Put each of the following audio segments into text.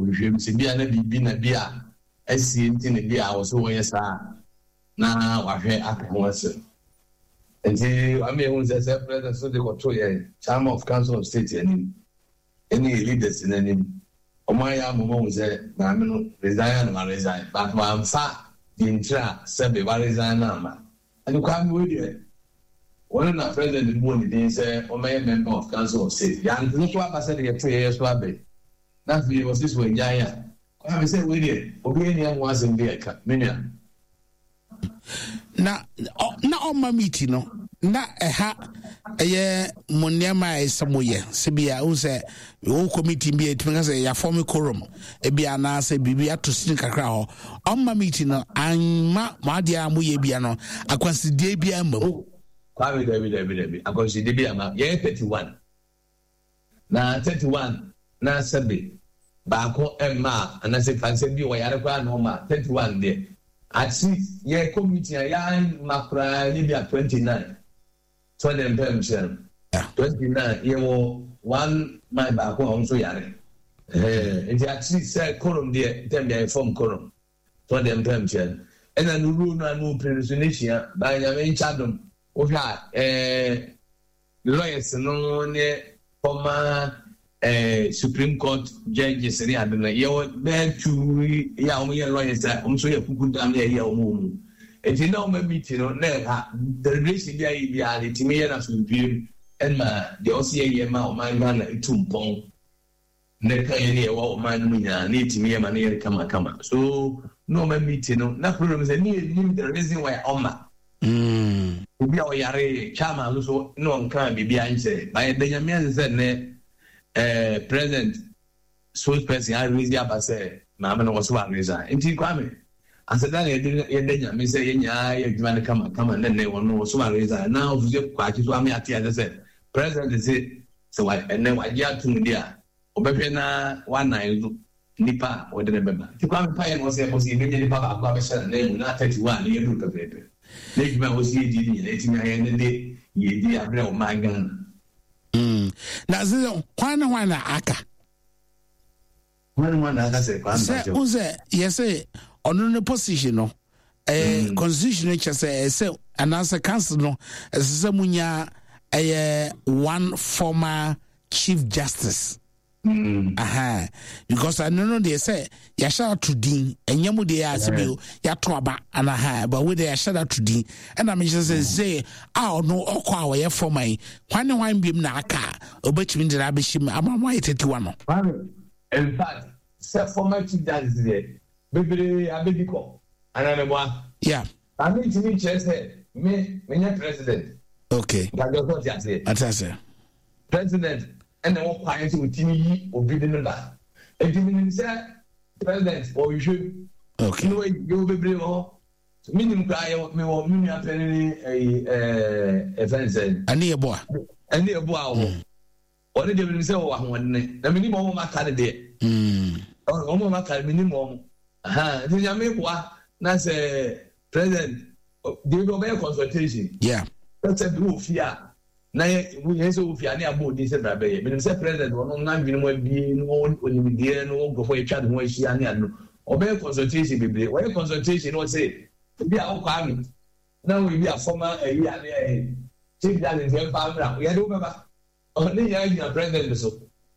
Ɔhwehwɛ mu sɛ bi a na biribi na bi a asie nti na bi a ɔsɛ wɔyɛ saa na wahwɛ aka ho asɛm. Nti wama yɛhu sɛ sɛ president so de kɔto yɛn chairman of council of state anim ɛne yɛ leaders no anim. Wɔn ayɛ ama wɔn ahu sɛ maame no resign a na waresign but wamfa deɛ ntira a sɛbe waresign no amma. Ɛne Kwame wei deɛ wɔn na president bɔɔ ne din sɛ ɔmmɛyɛ member of council of state. Yɛante no so aba sɛdeɛ yɛto yɛyɛ so aba yi. Na afei wɔse so wagyae a Kwame sɛ wei deɛ obiara nni ho asɛm bi a ɛka me nua. Na na ɔma meeti no na ɛha ɛyɛ mo nneɛma a ɛsɛ mo yɛ sɛ bi a wohu sɛ wo committee bi a ɛtumi ka sɛ yɛafɔme quorum ebi anaasɛ biribi ato sini kakra hɔ ɔma meeti no amma mo adeɛ a moyɛ bia no akwansideɛ bi amma mu. Oh, Kwame dabi dabi dabi akwansideɛ bi amma yɛyɛ 31 Na 31 na sɛbe baako mma a anasɛ fansɛ bi ɔyare koraa na ɔma 31 deɛ at least yɛ kɔ meeting a yɛamma koraa nyɛ bi a 29 so ɔde mpɛ mhyɛ no 29 yɛwɔ one man baako a ɔno nso yare nti at least sɛ korom deɛ ntɛm deɛ yɛ fam korom so ɔde mpɛ mhyɛ no ɛna no ruo no a no pere no so ne hyia baa nyame nkyɛ adom wohwɛ a ɛɛ Lawyers no ne former eh, Supreme Court judges ne ade no, yɛwɔ bɛyɛ tu yɛ a wɔyɛ lawyers a wɔn nso yɛ kuku dam ne ɛyɛ wɔn wɔ mu. Nti na wɔn meeting no na ɛha deliberation bi a yɛ biara no etumi yɛ no asomdwie mu ɛma deɛ ɔsi yɛ yɛ ma ɔman Ghana etu mpɔn. Na ɛka yɛn ne yɛwɔ ɔman no mu nyinaa na yɛtumi yɛ ma no yɛ kama kama so na ɔma meeting no na problem sɛ ne yɛnim the reason why ɔma mm. obi a ɔyare chairman no so na ɔnka biribi ankyerɛ ba yɛda nyame ase sɛ nnɛ eh, president spokesperson arezi aba sɛ maame no wɔ so aresign nti kwame aseda na yɛde yɛda nyame sɛ yɛn nyinaa yɛ adwuma no kama kama ne nnɛ wɔn wɔ so aresign na ɔfisɛ kwakye so ame ate ase sɛ president se Sɛ wa, ɛnnɛ wagye atom de a, ɔbɛhwɛ na wanan no nipa a ɔde no bɛba. Nti Kwame mpaeɛ na ɔsɛ yɛbɔ sɛ yɛbɛnya nipa baako abɛhyɛ n'anan mu na 31 no yɛduru pɛpɛɛpɛ. Na adwuma a wɔsi yɛdi no nyinaa yɛtumi ayɛ no de yɛdi abrɛ ɔman Ghana. Mm. Na sɛ hwan ne hwan na aka? Hwan hwan na aka sɛ Kwame Sɛ Mpakyɛw? wo sɛ yɛsɛ ɔno ne position no eh, mm. constitution no kyɛ sɛ ɛsɛ anaasɛ council no ɛsɛ sɛ munya ɛyɛ one former chief justice. Mm. Aha. Because ɛno no deɛ sɛ yɛahyɛ ato din ɛnyɛ mu deɛ asɛ bi yɛato aba ana ha but wo deɛ yɛahyɛ ato din ɛna mehyɛ sɛ sɛ a ɔno ɔkɔ a ɔyɛ former yi hwan ne hwan biom na aka a ɔbɛtumi de no abɛhyɛ mu ama mo ayɛ tetiwa no. In fact, sɛ former chief justice deɛ bebree abɛdi kɔ anaa meboa. Yeah. Na me ntumi nkyerɛ sɛ me menyɛ president. Okay. Nkadeɛ sɛ ɔte aseɛ. Ate aseɛ. President ɛna ɛwɔ kwan sɛ ɔtumi yi obi de no ba. Nti menim sɛ president ɔhwehwɛ mu. Okay. Ne wayi yɛwɔ bebree wɔ hɔ. Menim koraa yɛ mewɔ me nua panyin ɛyi ɛɛ ɛfɛn sɛ. Ɛne yɛ boa. Ɛne yɛ boa wɔ hɔ. Ɔno deɛ menim sɛ ɔwɔ ahoɔdene na menim wɔn a aka no deɛ. Wɔn a aka no menim wɔn. Nti nyame boa na sɛ president deɛ bi ɔbɛyɛ consultation. Yeah. Sɛ bi wɔ fie a na yɛ yɛn sɛ wɔ fie a ne abɔ odin sɛ bra bɛyɛ. Menim sɛ president ɔno n'adwene mu abie no onimdeɛ no nkurɔfoɔ yɛtwa ne ho ahyia ne ade no ɔbɛyɛ consultation bebree. Ɔyɛ consultation na ɔsɛ ebi a wokɔ ano na wo ebi a former ayi ane ɛyɛ chief justice yɛn fa mmra yɛde wo bɛba. Ne nyinaa gyina president so.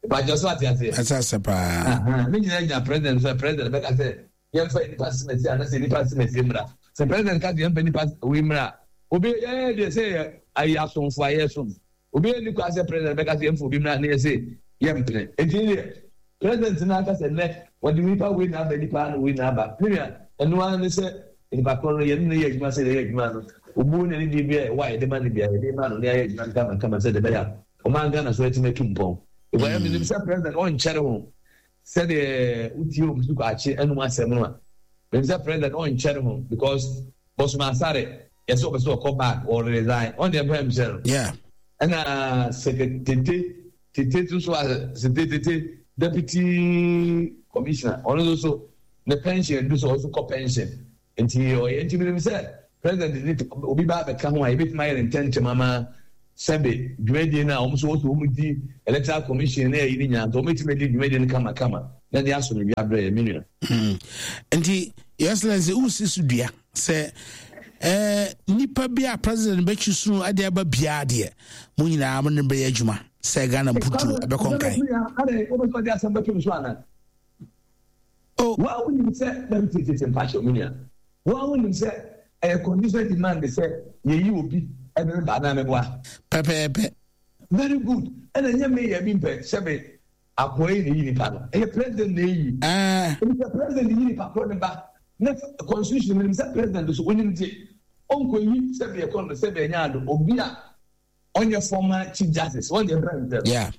Ìbàjẹ́ so ate aseɛ. Ɛsɛ ase paa. Ne nyinaa gyina president so. President bɛka sɛ yɛmfa nipa semɛsi anasɛ nipa semɛsi mmra. Sɛ president ka sɛ yɛmfa nipa wei mmra obi yɛyɛ deɛ sɛ yɛ ayi asomfo a yɛsom. Obi yɛ ni kwan sɛ president bɛka sɛ yɛmfa obi mmra ne yɛ sɛ yɛmpene. Eti ne deɛ president no aka sɛ nnɛ wɔde nipa wei na aba nipa ano wei na aba. Ne nua ɛno ara ne sɛ nipa korɔ no yɛne no yɛ adwuma sɛ yɛyɛ adwuma no obuo ne anidie bi a ɛwɔ a yɛde ma no biara yɛde ma no ne ayɛ adwuma no kamakama sɛdeɛ ɛbɛyɛ a ɔman Ghana so atumi atu mpɔn. Because mm. menim sɛ president ɔnkyɛre ho sɛdeɛ wotie obi so kwakye anum asɛm no a menim sɛ president ɔnkyɛre ho because Bosoma Asare yɛsɛ ɔpɛ sɛ ɔkɔ back or resign ɔn deɛ mpɛ mhyɛ no ɛna sɛkɛ tete tete nso so a sete tete deputy commissioner ɔno nso so ne pension du so ɔso kɔ pension nti ɔyɛ nti menim sɛ president ne obi ba abɛka ho a yɛbɛtumi ayɛ ne ntɛntɛm ama sɛbe dwumadie no a wɔn nso wɔsɔ wɔn di electoral commission ne ayi ne nyinaa nso wɔbɛtumi adi dwumadie no kamakama. na ɛde asomdwe abrɛ yɛ me nua. Nti Your Excellency wosi so dua sɛ eh, nipa bi a president bɛtwi so de aba biara deɛ mo nyinaa mo ne bɛyɛ adwuma sɛ Ghana mputuo ɛbɛkɔ nkan. Oh. Wa wonim sɛ na tete mpakyɛ me nua. Wa wonim sɛ ɛyɛ conditional demand sɛ yɛyi obi ɛde ne ba anaa meboa. Pɛpɛɛpɛ. Very good. Ɛna nyɛ me yɛ bi mpɛ sɛ me Akoa yi na eyi nipa no. Ɛyɛ president na eyi. Ɛni sɛ president yi nipa korɔ ne ba. Ne constitution mu sɛ president so onim ti. Ɔnkɔ yi sɛ bi ɛkɔ no sɛ bi ɛnya ado obi a ɔnyɛ former chief justice. Wɔn deɛ president. Yeah.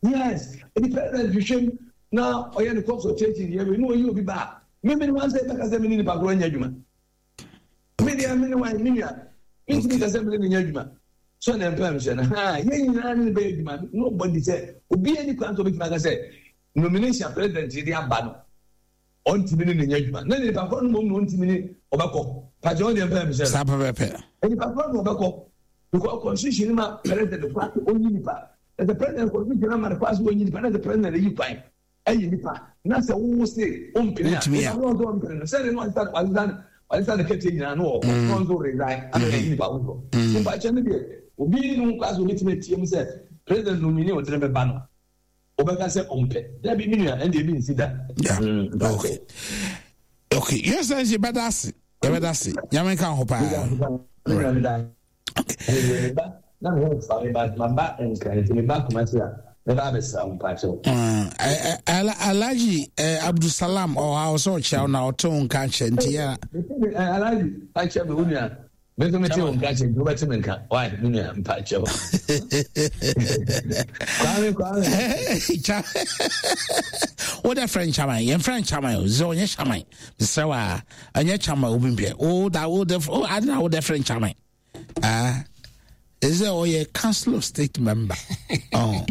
Yes. Ɛni president hwehwɛ mu na ɔyɛ ne consultation yɛ wei na ɔyi obi ba a. Mímí ni wɔn sɛ ɛbɛka sɛ mi ni nipa korɔ nyɛ adwuma. Me deɛ me ne wan me nua mentumi ka sɛ me ne no nyɛ adwuma so na mpɛ mehyɛ no ha yɛn nyinaa ne no bɛyɛ adwuma nobody sɛ obiara ni kwan sɛ obɛtumi aka sɛ nomination president de aba no ɔntumi ne no nyɛ adwuma na nipa korɔ no mmom na ɔntumi ne ɔbɛkɔ pakyɛ ɔdeɛ mpɛ mehyɛ no saa pɛpɛpɛ nipa korɔ no ɔbɛkɔ because constitution ma president kɔ ase ɔnyi nipa ɛsɛ president constitution ama no kɔ ase ɔnyi nipa na sɛ president yi kwan Ɛyɛ nipa na sɛ wo se wo mpene a nipa no nso mpene no sɛde no ɔsesa ɔsesa ɔsesa ne kɛtɛ nyinaa no ɔkɔ na ɔnso resign ana ɛyi nipa foforɔ nipa kyɛ no deɛ obi ne ho kɔ asɛ obetumi atie mu sɛ president nomini ɔde ne bɛba no wobɛka sɛ ɔmpɛ dabi me nua ɛnde ebi nsi da. Okay okay yɛ sɛ nse bɛda ase yɛbɛda ase nyame nka ho paa. Na me ho mfa me ba maba nkran nti meba Kumasi a mɛba abɛsra wo mpakyɛw. Alhaji Abdulsalam ɔha wo sɛ ɔkyea wo na ɔte wo nka kyɛ nti yɛ. Alhaji akyɛ me wo nua me nso mete wo nka kyɛ nti wobɛte me nka why me nua mpakyɛw. Kwame Kwame. Wo dɛ frɛ nkyaman yɛmfrɛ nkyaman o sɛ ɔnyɛ kyaman mesrɛ wo a ɛnyɛ kyaman obi mpɛ wo da wo dɛ ade na wo dɛ frɛ nkyaman. Ah, is there ɔyɛ council of state member? Oh.